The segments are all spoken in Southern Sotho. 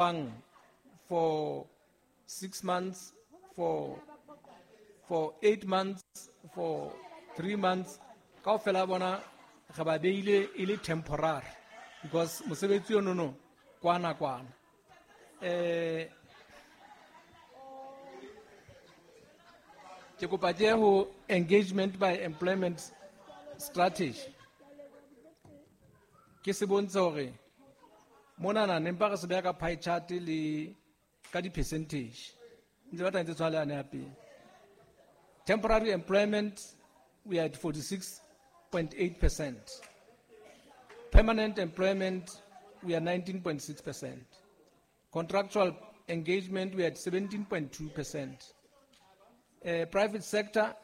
Bang for 6 months, for 8 months, for 3 months, kaofela bona re ba beile e le temporary because mosebetsi ono no kwana kwana. Ke kopa ke ho engagement by employment strategy. Ke se bontshe hore monana ne mpa re se beha ka pie chart le ka di-percentage. Ntse ba tla ntse tshwana le yane ya pele. Temporary employment, we are at 46.8%. Permanent employment, we are 19.6%. Contractual engagement, we are at 17.2%. Private sector,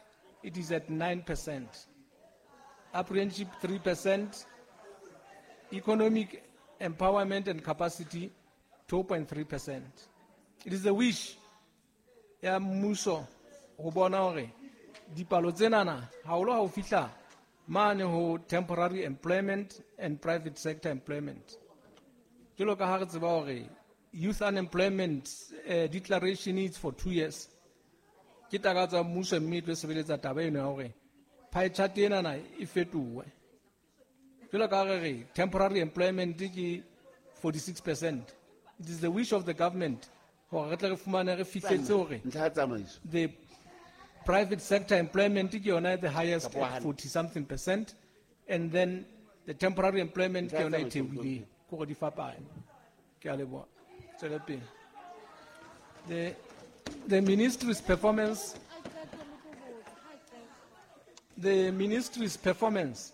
it is at 9%. Apprenticeship, 3%. Economic empowerment and capacity, 2.3%. It is a wish ya mmuso ho bona hore dipalo tsenana haholo ha ho fihla mane ho temporary employment and private sector employment. Jwalo ka ha re tseba hore youth unemployment declaration is for 2 years. Ke takatso ya mmuso mme e tlo sebeletsa taba eno ya hore pie chart enana e fetohe. Jwalo ka ha re re temporary employment ke 46%. It is the wish of the government hore re tle re fumane re fihletse hore Ntlha ya tsamaiso. the private sector employment ke yona the highest Kapa at hane. 40 something percent, and then the temporary employment ke Ntlha ya yona e tsamaiso, theohileng. Ke hore di fapane. Ke a leboha. Tswele pele. The ministry's performance, the ministry's performance,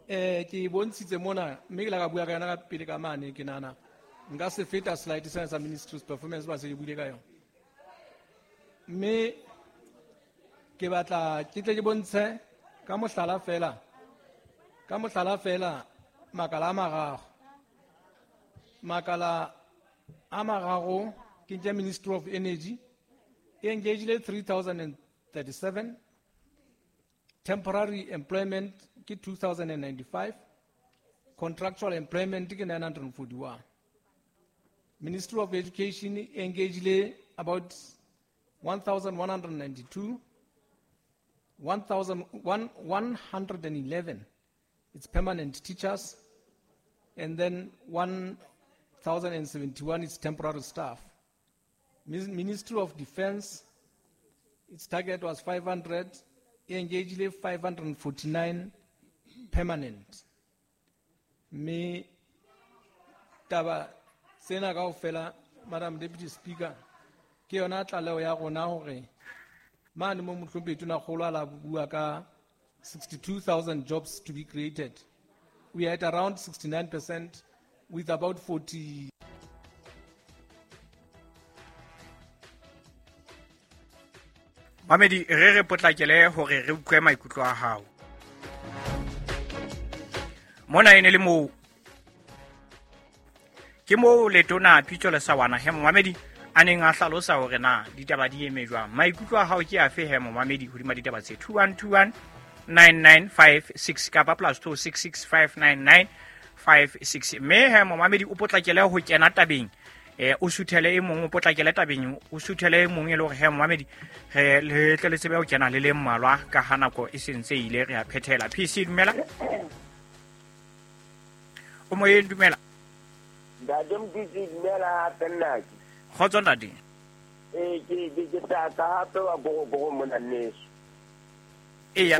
ke bontshitse mona, mme ke la ka bua ka yona ka pele ka mane, ke nahana nka se feta slide sena sa ministry's performance ba se ke buile ka yona. Mme ke batla ke tle ke bontshe ka mohlala fela, ka mohlala fela makala a mararo. Makala a mararo ke nke Ministry of Energy e engagile 3037, temporary employment ke 2095, contractual employment ke 941. Ministry of Education e engagile about 1192, one thousand one, one hundred and eleven, it's permanent teachers, and then 1,071 is temporary staff. Ministry of Defense, its target was 500, e engaged 549 permanent. Me taba tsena kaofela, Madam Deputy Speaker, ke yona tlaleho ya rona hore mane mo mohlomphehi Tonakgolo a la bua ka 62,000 jobs to be created. We are at around 69% with about 40. Mamedi, re re potlakele hore re utlwe maikutlo a hao. Mona e ne le moo. Ke moo letona Pitso Lesawana he momamedi a neng a hlalosa hore na ditaba di eme jwang. Maikutlo a hao ke afe he momamedi hodima ditaba tse 2121 9956 kapa plus two six six five nine nine five six. Mme he momamedi o potlakele ho kena tabeng. O suthele e mong, o potlakele tabeng, o suthele e mong e le hore he momamedi re le tle le tsebe ho kena le le mmalwa ka ha nako e sentse ile re a phethela. PC dumela. O moyeng dumela. Ntate Mokete, dumela hape nnake. Kgotso ntate. Ke tla ka hape wa Gorogoro mona nneso. Eya.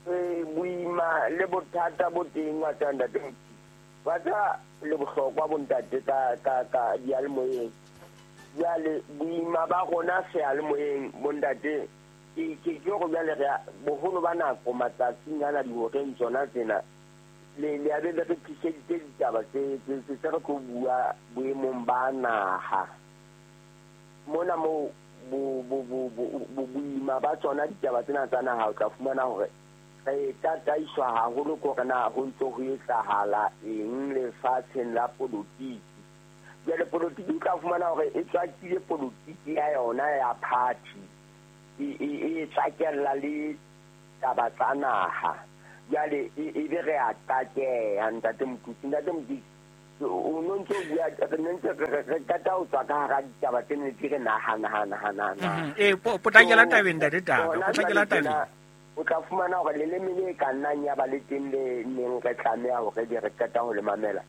Boima le bothata bo teng wa tsa ntate Mokete. Wa tsa le bohlokwa bo ntate ka diyalemoyeng. Jwale boima ba rona seyalemoyeng bo ntate, ke hore jwale re a, boholo ba nako matsatsing ana dihoreng tsona tsena, le a be le re tliseditse ditaba tse re tlo bua boemong ba naha. Mona moo boima ba tsona ditaba tsena tsa naha, o tla fumana hore re tataiswa haholo ke hore na ho ntso ho etsahala eng lefatsheng la polotiki. Jwale polotiki o tla fumana hore e tswakile polotiki ya yona ya party, e tswakella le taba tsa naha. Jwale e be re a takeha, ntate Mokete. Ntate Mokete, O no ntso bua re ne ntse re qeta ho tswa ka hara ditaba tse ne re nahana. Potlakela tabeng ntate Taka, potlakela tabeng. O tla fumana hore leleme le ka nnang ya ba le teng le neng re tlameha hore di re qeta ho le mamela.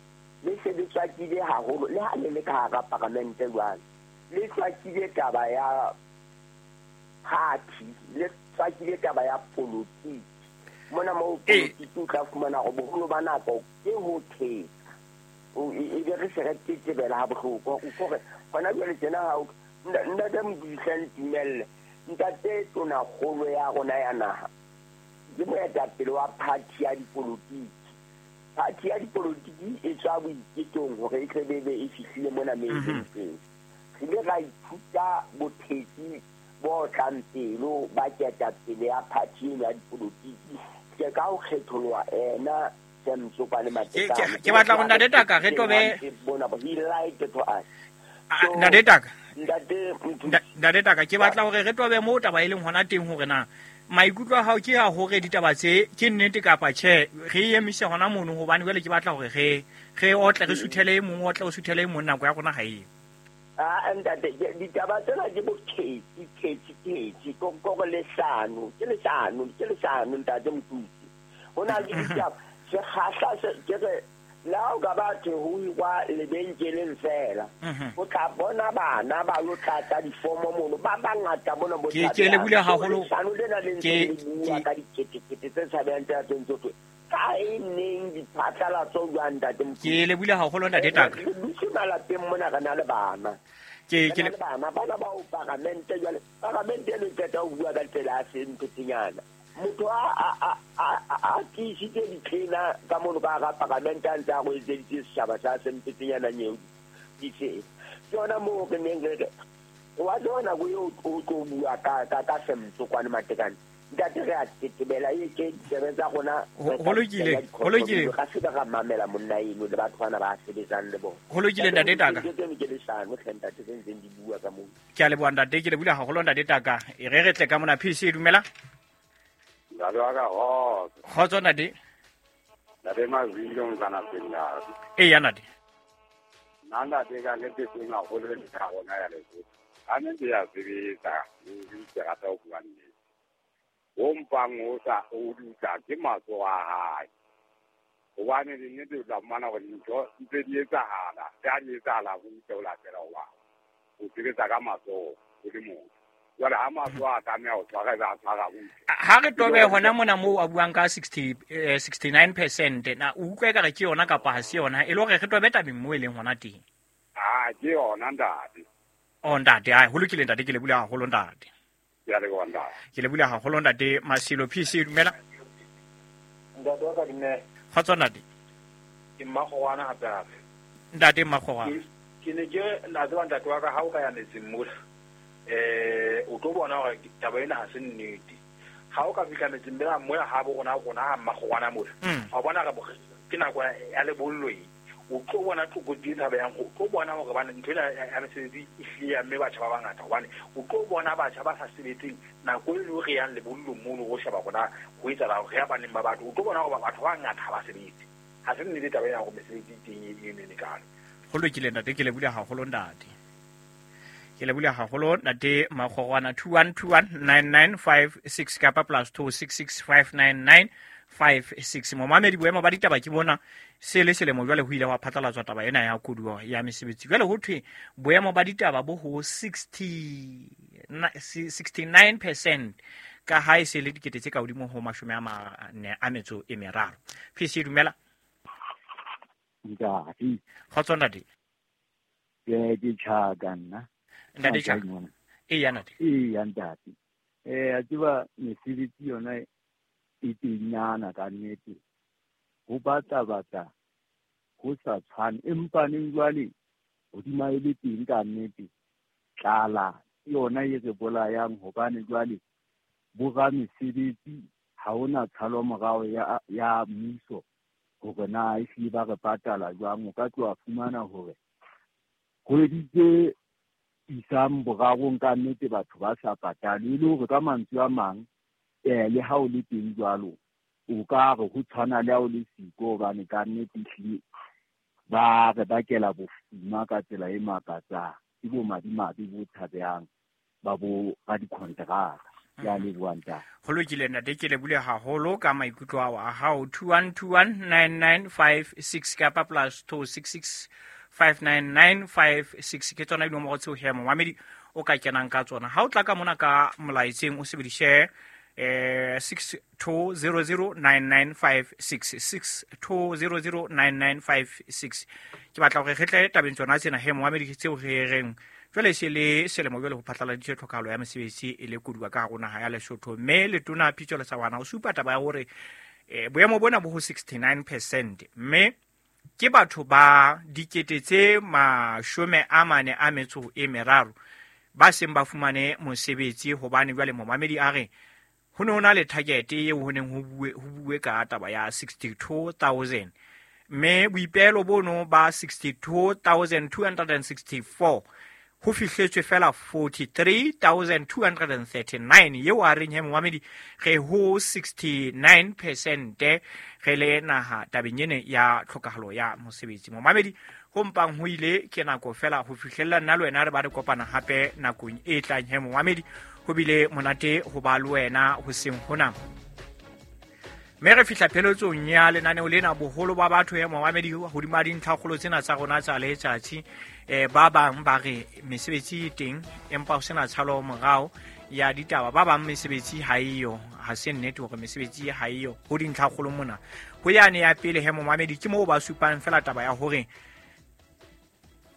Le se le tswakile haholo le ha le le ka hara paramente jwale. Le tswakile taba ya party, le tswakile taba ya politiki. Mona moo politiki o tla fumana hore boholo ba nako ke ho thetsa. E be re se re tetebela ha bohloko. Hore hona jwale tjena ha ntate Modisa ntumelle, ntate tonakgolo ya rona ya naha ke moetapele wa party ya dipolotiki. Party ya dipolotiki e tswa boiketong hore e tle be e fihlile mona metseng. Re ile ra ithuta bothetsi bo tlang pelo ba ketapele ya party eno ya dipolotiki. Ke ka ho kgetholoha ena Ke batla go ntate Taka re tobe ntate Taka. Ntate Taka ke batla hore re tobe mo taba e leng hona teng hore na maikutlo a hao ke a hore ditaba tse ke nnete kapa tjhe, re emise hona mono hobane jwale ke batla hore re otle re suthele e mong, otle o suthele e mong, nako ya rona ha e. Ntate ditaba tsena ke bothetsi thetsi ko leshano, ke leshano ntate Mothusi. Ho na le ditaba sekgahla ke re la o ka batho ho hirwa lebenkeleng fela. O tla bona bana ba lo tlatsa difomo mono ba bangata bona bo ke le bule haholo lena le ntse le bua ka diketekete tse tshabehang tse tse ka e neng diphatlalatso jwang ntate Mothusi. Ke le bule haholo ntate Taka. Re dutse malapeng mona re na le bana. Ke le bana bana ba o paramente jwale paramente e qeta ho bua ka tsela ya semphetenyana. Motho a tiisitse ditlena ka mono ka hara paramente a ntse a go etseditse setjhaba sa semphetenyana nyeo ditse. Ke yona moo re neng re re wa tseba nako eo o tlo bua ka semtsokwane Matekane. Ntate re a tetebela e ke ditsebe tsa rona. Ho lokile. Ga se ba mamela monna eno le batho bana ba sebetsang le bona. Ho lokile ntate Taka. Ke leshano hle ntate tse ntseng di bua ka moo. Ke a leboha ntate, ke leboha haholo ntate Taka. E re tle ka mona PC dumela. Ntate wa ka kgotso. Kgotso ntate. Ntate Mazwile o ntsana pele. Eya ntate. Nna ntate ka nnete teng haholo le ya rona ya Lesotho. Ka nnete ya sebetsa, ke rata ho bua nnete. O mpang o sa o dutla ke matsoho a hae. Hobane nnete o tla fumana hore dintho ntse di etsahala, tse ha di etsahala ho ntse o latela hoba o sebetsa ka matsoho o le motho. Jwale ha matsoho a tlameha ho tshwara, ebe a tshwara butle. Ha re tobe hona mona moo a buang ka 69% na o utlwa ekare ke yona kapa ha se yona, e le hore re tobe tabeng moo e leng hona teng. Ah, ke yona ntate. Oh ntate, ai ho lokile ntate, ke le bula haholo ntate. Ke a leboha ntate. Ke le bula haholo ntate Masilo PC dumela. Ntate wa ka dumela. Kgotso ntate. Ke Mmakgorwana hape hape. Ntate Mmakgorwana. Ke ne ke la tseba ntate wa ka ha o ka ya metseng mola. O tlo bona hore taba ena ha se nnete. Ha o ka fihla metseng mela moya ha bo rona rona ha Mmakgorwana mola. Wa bona re ke nako ya lebollo e. O tlo bona tlokotsi e tshabehang, o tlo bona hore bana ntho ena ya mesebetsi e hlile ya mme batjha ba bangata, hobane o tlo bona batjha ba sa sebetseng nako e le re yang lebollong mono ho sheba rona ho etsahala hore ya baneng ba batho, o tlo bona hore batho ba bangata ha ba sebetse. Ha se nnete taba ena hore mesebetsi e teng e nene kalo. Ho lokile ntate, ke lebohile haholo ntate. Ke lebohile haholo ntate Makgorwana. 21219956 kapa +26659956. Momamedi, boemo ba ditaba ke bona se le selemo jwale ho ile wa phatlalatswa taba ena ya koduwa ya mesebetsi. Jwale ho thwe boemo ba ditaba bo ho 69% ka ha e se le dikete tse ka hodimo ho 43. PC dumela. Ntate. Kgotso ntate. Ke tjhaka nna. Ntate tjhaka. Eya ntate. Eya ntate. A tseba mesebetsi yona e tenyana ka nnete. Ho batla ho sa tshwane, empa neng jwale hodima e le teng ka nnete tlala yona e re bolayang, hobane jwale boramesebetsi ha hona tshalo morao ya mmuso hore na ehlile ba re patala jwang. O ka tloha fumana hore kgwedi tse isang borarong ka nnete batho ba sa patale, e le hore ka mantswe a mang le ha o le teng jwalo o ka re ho tshwana le ha o le siko, hobane ka nnete ehlile Ba re bakela bofuma ka tsela e makatsang. Ke bo madimabe bo tshabehang ba bo radikonteraka. Ke a leboha ntate. Ho lokile ntate, ke lebule haholo ka maikutlo ao a hao. 21219956 kapa plus 26659956 ke tsona dinomoro tseo he momamedi o ka kenang ka tsona. Ha o tla ka mona ka molaetseng o sebedise 62009956, 62009956. Ke batla hore re tle tabeng tsona tsena he momamedi tseo re reng jwale se le selemo jwale ho phatlaladitswe tlhokahalo ya mesebetsi e le koduwa ka hare ho naha ya Lesotho, mme letona Pitso Lesawana o supa taba ya hore boemo bona bo ho 69%, mme ke batho ba dikete tse 43 ba seng ba fumane mosebetsi. Hobane jwale momamedi a re ho ne ho na le target eo ho neng ho bue ka taba ya 62,000, mme boipehelo bono ba 62,264 ho fihletswe fela 43,239, eo a reng he momamedi re ho 69% re le naha tabeng ene ya tlhokahalo ya mosebetsi. Momamedi ho mpang ho ile ke nako fela ho fihlella nna le wena re ba re kopana hape nakong e tlang. He momamedi ho bile monate ho ba le wena hoseng hona, mme re fihla pheletsong ya lenaneo lena. Boholo ba batho he momamedi hodima dintlhakgolo tsena tsa rona tsa letsatsi, ba bang ba re mesebetsi e teng empa ho sena tshalo morao ya ditaba, ba bang mesebetsi ha eyo. Ha se nnete hore mesebetsi ha eyo ho dintlhakgolo mona. Ho yane ya pele he momamedi ke moo ba supang fela taba ya hore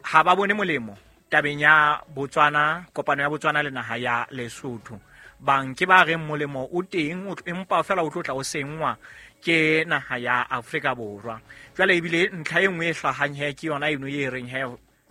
ha ba bone molemo tabeng ya Botswana, kopano ya Botswana le naha ya Lesotho. Bang ke ba reng molemo o teng empa fela o tlo tla o sengwa ke naha ya Afrika Borwa. Jwale ebile ntlha e nngwe e hlahang he ke yona eno e reng he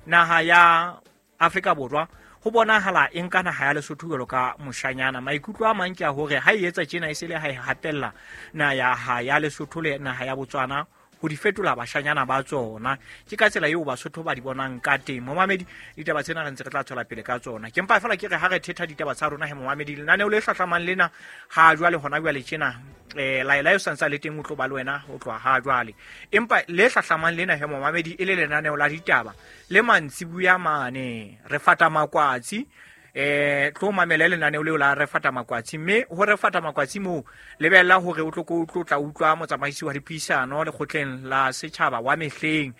naha ya Afrika Borwa ho bonahala e nka naha ya Lesotho jwalo ka moshanyana. Maikutlo a mang ke a hore ha e etsa tjena e se le ha e hatella naha ya Lesotho le naha ya Botswana ho di fetola bashanyana ba tsona. Ke ka tsela eo Basotho ba di bonang ka teng. Momamedi, ditaba tsena re ntse re tla tswela pele ka tsona. Ke mpa fela ke re ha re thetha ditaba tsa rona he momamedi, lenaneo le hlahlamang lena ha jwale hona jwale tjena laela eo santsa le teng o tlo ba le wena ho tloha ha jwale. Empa le hlahlamang lena he momamedi e le lenaneo la ditaba le mantsibuya mane re fata makwatsi. Tlo mamela lenaneo leo la re fata makwatsi, mme ho re fata makwatsi moo lebella hore o tlo tla utlwa motsamaisi wa dipuisano lekgotleng la setjhaba wa mehleng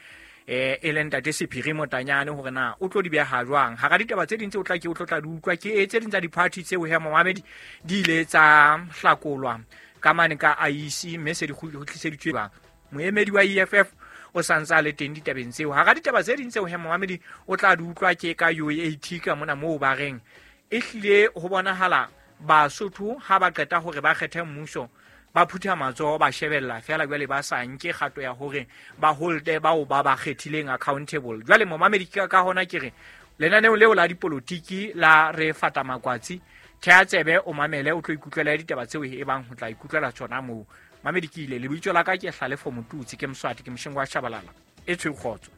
e leng ntate Sephiri Motanyane hore na o tlo di beha jwang. Hara ditaba tse ding tse o tla ke o tlo tla di utlwa ke tse ding tsa di-party tseo he momamedi di ile tsa hlakolwa ka mane ka IEC, mme se di kgutliseditswe bang. Moemedi wa EFF o santsa le teng ditabeng tseo. Hara ditaba tse ding tseo he momamedi o tla di utlwa ke ka UAT ka mona moo ba reng e hlile ho bonahala Basotho ha ba qeta hore ba kgethe mmuso ba phutha matsoho ba shebella fela jwale ba sa nke kgato ya hore ba holde bao ba ba kgethileng accountable. Jwale momamedi ka hona ke re lenaneo leo la dipolotiki la re fata makwatsi, thea tsebe o mamele o tlo ikutlwela ditaba tseo e bang ho tla ikutlwela tsona moo. Mamedi ke ile lebitso la ka ke Hlalefo Motutsi, ke Mswati, ke Moshengo wa Shabalala. E tshwe kgotso.